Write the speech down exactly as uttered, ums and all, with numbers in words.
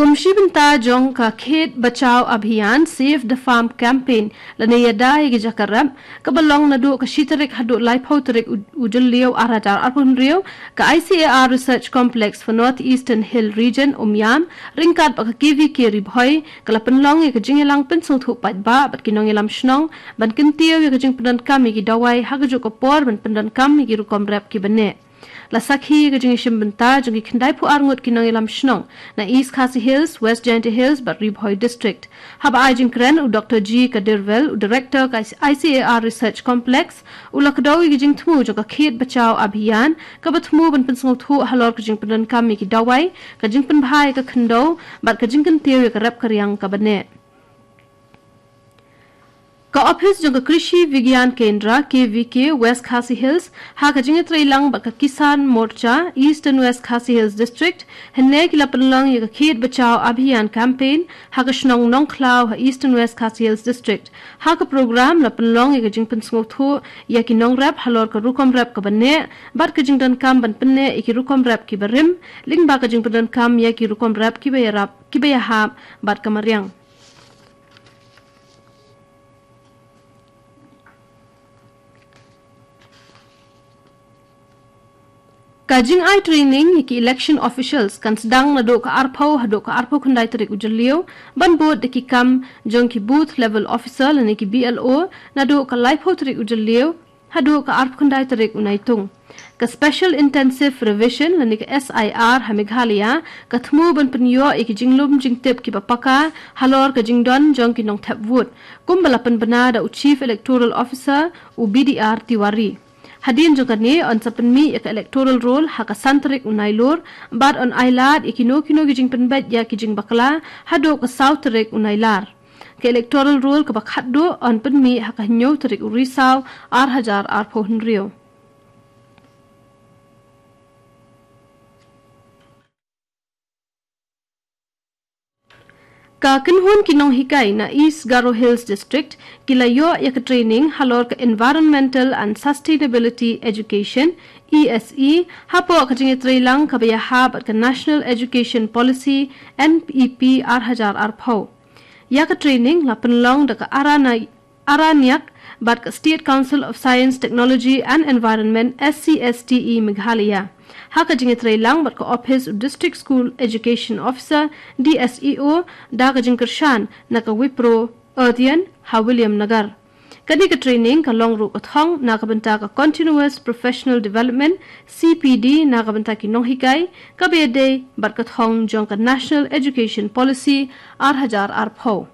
Kum shi bynta jong ka Khet Bachao Abhiyan Save the Farm Campaign lane Ïada ïa ki jaka rep, kaba long naduh ka shi tarik haduh laiphew tarik u, u Jylliew ar hajar arphew hynriew, ka I C A R Research Complex for North Eastern Hill Region, Umiam, ryngkat bad ka K V K Ri Bhoi, ka la pynlong ïa ka jingïalang pynsngewthuh paidbah bad ki nongïalam shnong ban kyntiew ïa ka jingpyndonkam ïa ki dawai ha kajuh ka por ban pyndonkam ïa ki rukom rep kiba neh. La sakhi ïa ka jingïashim bynta jong ki khyndai phew ar ngut ki nongïalam shnong na East Khasi Hills, West Jaintia Hills bad Ri Bhoi District. Haba ai jingkren u Doctor G Kadirvel, u Director ka I C A R Research Complex, u la kdew ïa ka jingthmu jong ka Khet Bachao Abhiyan, kaba thmu ban pynsngewthuh halor ka jingpyndonkam ïa ki dawai, ka jingpynbha ïa ka khyndew bad ka jingkyntiew ïa ka rep ka riang kaba neh. Ka ophis jong ka Krishi Vigyan Kendra, K V K, West Khasi Hills, ha ka jingïatreilang bad ka Kisan Morcha, Eastern West Khasi Hills District, hynne ki la pynlong ïa ka Khet Bachao Abhiyan Campaign ha ka shnong Nongkhlaw ha Eastern West Khasi Hills District. Ha ka program la pynlong ïa ka jingpynsngewthuh ïa ki nongrep halor ka rukom rep kaba neh bad ka jingdonkam ban pynneh ïa ki rukom rep kiba rim, lyngba ka jingpyndonkam ïa ki rukom rep kiba ïarap, kiba ïahap bad ka mariang. Ka jingai training ïa ki election officials kan sdang naduh ka arphew haduh ka arphew khyndai tarik u Jylliew, ban bud da ki kam jong ki booth level officer lane ki B L O, naduh ka laiphew tarik u Jylliew haduh ka arphew khyndai tarik u Naitung. Ka Special Intensive Revision lane ka S I R ha Meghalaya ka thmu ban pynïoh ïa ki jinglum jingtip kiba paka halor ka jingdon jong ki nongthep vote, kumba la pynbna da u Chief Electoral Officer, u B D R Tiwari. Hadien jong kane yn sa pynmih ïa ka electoral roll ha ka san tarik u Nailur, bad yn ailad ïa kino kino ki jingpynbeit ïa ki jingbakla haduh ka saw tarik u Nailar. Ka electoral roll kaba khatduh yn pynmih ha ka hynñiew tarik u Risaw ar hajar arphew hynriew. Ka kynhun ki nonghikai na East Garo Hills District ki la ïoh ïa ka training halor ka Environmental and Sustainability Education, E S E, hapoh ka jingïatreilang kaba ïahap bad ka National Education Policy, N E P, ar hajar arphew. Ïa ka training la pynlong da ka Arana Araniak bad ka State Council of Science, Technology and Environment, S C S T E, Meghalaya, ha ka jingïatreilang bad ka ophis u District School Education Officer, D S E O, da ka jingkyrshan na ka Wipro Earthian ha William Nagar. Kane ka training ka long ruh ka thong na ka bynta ka Continuous Professional Development, C P D, na ka bynta ki nonghikai, kaba ïadei bad ka thong jong ka National Education Policy, ar hajar arphew.